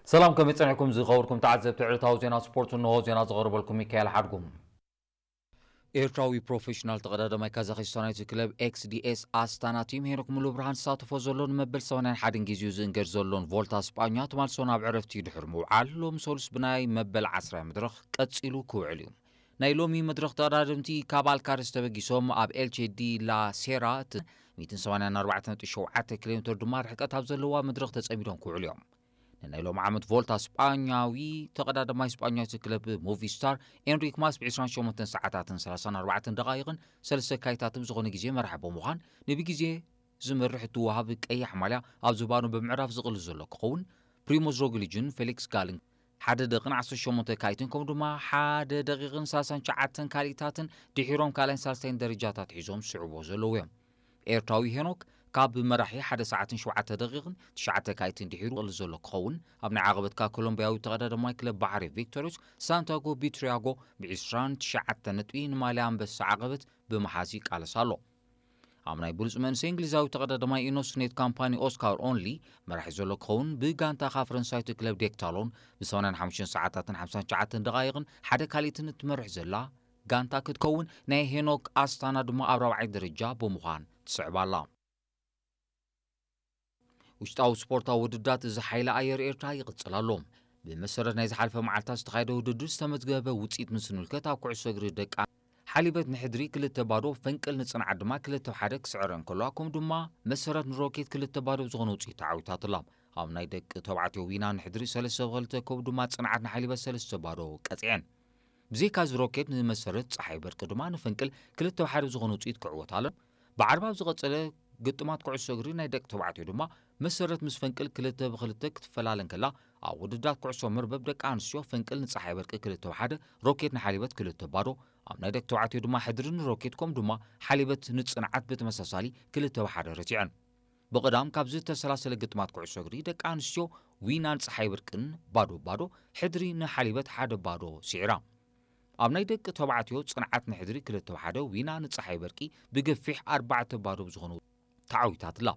ሰላም፣ ከመይ ጸኒሕኩም ዝኸበርኩም ተዓዘብቲ ዕለታዊ ዜና ስፖርት? እንሆ ዜና ዝቐርበልኩም ሚካኤል ሓድጉም። ኤርትራዊ ፕሮፌሽናል ተቐዳዳማይ ካዛኺስታናዊት ክለብ ኤክስዲኤስ ኣስታና ቲም ሄኖክ ሙሉብርሃን ዝሳተፎ ዘሎ ንመበል ሰማንያን ሓደን ግዜኡ ዝእንገድ ዘሎን ቮልታ ስጳኛ ትማል ሰኑይ ኣብ ዕረፍቲ ድሕሪ ምውዓል ሎም ሰሉስ ብናይ መበል ዓስራይ መድረኽ ቀጺሉ ክውዕል እዩ። ናይ ሎሚ መድረኽ ተቐዳደምቲ ካብ ኣልካርስ ተበጊሶም ኣብ ኤልቼ ዲ ላ ሴራ እቲ ሚእትን ሰማንያን ኣርባዕተ ነጥቢ ሸውዓተ ኪሎ ሜትር ድማ ርሕቀት ኣብ ዘለዋ መድረኽ ተጸሚዶም ክውዕሉ እዮም። ንናይ ሎም ዓመት ቮልታ ስጳኛዊ ተቐዳዳማይ ስጳኛዊት ክለብ ሞቪስታር ኤንሪክ ማስ ብ ዕስራን ሸሞንተን ሰዓታትን ሰላሳን ኣርባዕተን ደቓይቕን ሰለስተ ካይታትን ዝኾነ ግዜ መራሒ ብምዃን ንብግዜ ዝመርሕ እትወሃብ ቀያሕ ማልያ ኣብ ዝባኑ ብምዕራፍ ዝቕልስ ዘሎ ክኸውን፣ ፕሪሞዝ ሮግሊጅን ፌሊክስ ጋልን ሓደ ደቕን ዓሰርተ ሸሞንተ ካይትን ከምኡ ድማ ሓደ ደቂቕን ሰላሳን ትሽዓተን ካልኢታትን ድሒሮም ካልኣይን ሳልሳይን ደረጃታት ሒዞም ዝስዕብዎ ዘለዉ እዮም። ኤርትራዊ ሄኖክ ካብ መራሒ ሓደ ሰዓትን ሸውዓተ ደቂቕን ትሽዓተ ካይትን ድሒሩ ዝቕልስ ዘሎ ክኸውን፣ ኣብ ናይ ዓቐበትካ ኮሎምቢያዊ ተቐዳዳማይ ክለብ ባሕሪ ቪክቶሪዮስ ሳንቲያጎ ቢትሪያጎ ብ ዕስራን ትሽዓተን ነጥቢ ንማልያ ኣንበሳ ዓቐበት ብምሓዝ ይቃለስ ኣሎ። ኣብ ናይ ብሉጽ መንእሰይ እንግሊዛዊ ተቐዳዳማይ ኢኖስኔት ካምፓኒ ኦስካር ኦንሊ መራሒ ዘሎ ክኸውን፣ ብጋንታ ካብ ፈረንሳዊት ክለብ ዴክታሎን ብ ሰማንያን ሓሙሽተን ሰዓታትን ሓምሳን ትሽዓተን ደቓይቕን ሓደ ካልኢትን እትመርሕ ዘላ ጋንታ ክትከውን፣ ናይ ሄኖክ ኣስታና ድማ ኣብ ራብዓይ ደረጃ ብምዃን ትስዕብ ኣላ። ውሽጣዊ ስፖርታዊ ውድዳት እዚ ሓይሊ ኣየር ኤርትራ ይቕጽል ኣሎ። ብመሰረት ናይ ዝሓለፈ መዓልታት ዝተኻየደ ውድድር ዝተመዝገበ ውጽኢት ምስ ንምልከት፣ ኣብ ኩዕሶ እግሪ ደቂ ሓሊበት ንሕድሪ ክልተ ባዶ፣ ፈንቅል ንጽንዓት ድማ ክልተ ሓደ ክስዕረ እንከሎ፣ ከምኡ ድማ መሰረት ንሮኬት ክልተ ባዶ ብዝኾነ ውጽኢት ተዓዊታትላ። ኣብ ናይ ደቂ ተባዕትዮ ዊና ንሕድሪ ሰለስተ ብክልተ፣ ከምኡ ድማ ጽንዓት ንሓሊበት ሰለስተ ባዶ ቀጺዐን። ብዘይካዚ ሮኬት ንመሰረት ጸሓይ በርቂ ድማ ንፈንቅል ክልተ ብሓደ ብዝኾነ ውጽኢት ክዕወት ኣሎ። ብዓርቢ ኣብ ዝቐጸለ ግጥማት ኩዕሶ እግሪ ናይ ደቂ ተባዕትዮ ድማ መሰረት ምስ ፈንቅል ክልተ ብክልተ ክትፈላለ እንከላ፣ ኣብ ውድድራት ኩዕሶ መርበብ ደቂ ኣንስትዮ ፈንቅል ንጸሓይ በርቂ ክልተ ብሓደ፣ ሮኬት ንሓሊበት ክልተ ባዶ፣ ኣብ ናይ ደቂ ተባዕትዮ ድማ ሕድሪ ንሮኬት ከምኡ ድማ ሓሊበት ንጽንዓት ብተመሳሳሊ ክልተ ብሓደ ረቲዐን። ብቐዳም ካብ ዝተሰላሰለ ግጥማት ኩዕሶ እግሪ ደቂ ኣንስትዮ ዊናን ጸሓይ በርቅን ባዶ ባዶ፣ ሕድሪ ንሓሊበት ሓደ ባዶ ስዒራ። ኣብ ናይ ደቂ ተባዕትዮ ጽንዓት ንሕድሪ ክልተ ብሓደ፣ ዊና ንጸሓይ በርቂ ብገፊሕ ኣርባዕተ ባዶ ብዝኾነ ተዓዊታትላ።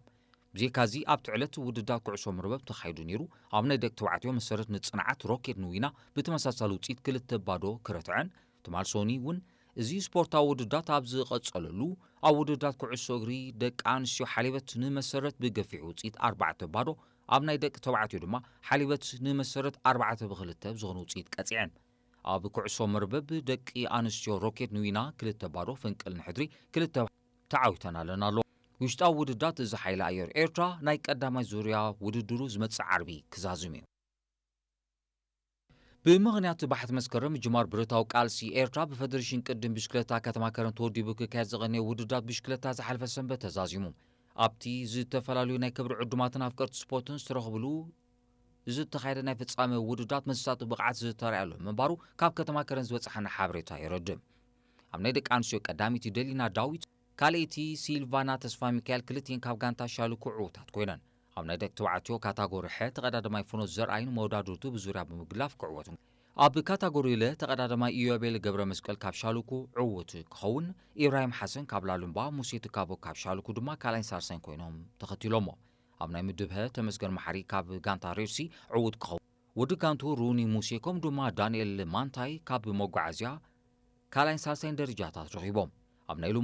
ብዘይካዚ ኣብቲ ዕለት ውድድር ኩዕሶ መርበብ ተኻይዱ ነይሩ። ኣብ ናይ ደቂ ተባዕትዮ መሰረት ንጽንዓት ሮኬት ንዊና ብተመሳሳሊ ውጽኢት ክልተ ባዶ ክረትዐን፣ ትማል ሶኒ እውን እዚ ስፖርታዊ ውድዳት ኣብ ዝቐጸለሉ፣ ኣብ ውድዳት ኩዕሶ እግሪ ደቂ ኣንስትዮ ሓሊበት ንመሰረት ብገፊሕ ውጽኢት ኣርባዕተ ባዶ፣ ኣብ ናይ ደቂ ተባዕትዮ ድማ ሓሊበት ንመሰረት ኣርባዕተ ብክልተ ብዝኾነ ውጽኢት ቀጺዐን። ኣብ ኩዕሶ መርበብ ደቂ ኣንስትዮ ሮኬት ንዊና ክልተ ባዶ፣ ፈንቅል ንሕድሪ ክልተ ተዓዊተን ኣለና ኣሎ። ውሽጣዊ ውድዳት እዚ ሓይሊ ኣየር ኤርትራ ናይ ቀዳማይ ዙርያ ውድድሩ ዝመጽእ ዓርቢ ክዛዝም እዩ። ብምኽንያት ባሕቲ መስከረም ምጅማር ብረታዊ ቃልሲ ኤርትራ፣ ብፈደሬሽን ቅድም ብሽክለታ ከተማ ከረን ተወዲቡ ክካየድ ዝቐነየ ውድዳት ብሽክለታ ዝሓለፈ ሰንበት ተዛዚሙ። ኣብቲ ዝተፈላለዩ ናይ ክብሪ ዕዱማትን ኣፍቀርቲ ስፖርትን ዝተረኽብሉ ዝተኻየደ ናይ ፍጻመ ውድዳት መሳጢ ብቕዓት ዝተራእየሉ ምንባሩ ካብ ከተማ ከረን ዝበጽሓና ሓበሬታ የረድእ። ኣብ ናይ ደቂ ኣንስትዮ ቀዳመይቲ ደሊና ዳዊት፣ ካልኣይቲ ሲልቫና ተስፋ ሚካኤል፣ ክልቲኤን ካብ ጋንታ ሻልኩ ዕዉታት ኮይነን። ኣብ ናይ ደቂ ተባዕትዮ ካታጎሪ ሐ ተቐዳዳማይ ፍኖት ዘርኣይን መወዳድርቱ ብዙርያ ብምግላፍ ክዕወቱ። ኣብ ካታጎሪ ለ ተቐዳዳማይ ኢዮቤል ገብረ መስቀል ካብ ሻልኩ ዕዉት ክኸውን፣ ኢብራሂም ሓሰን ካብ ላሉምባ፣ ሙሴ ትካቦ ካብ ሻልኩ ድማ ካልኣይን ሳልሳይን ኮይኖም ተኸቲሎሞ። ኣብ ናይ ምድብ ሀ ተመስገን መሓሪ ካብ ጋንታ ሬድሲ ዕዉት ክኸውን፣ ወዲ ጋንቱ ሩኒ ሙሴ ከምኡ ድማ ዳንኤል ማንታይ ካብ መጓዓዝያ ካልኣይን ሳልሳይን ደረጃታት ረኺቦም። ኣብ ናይ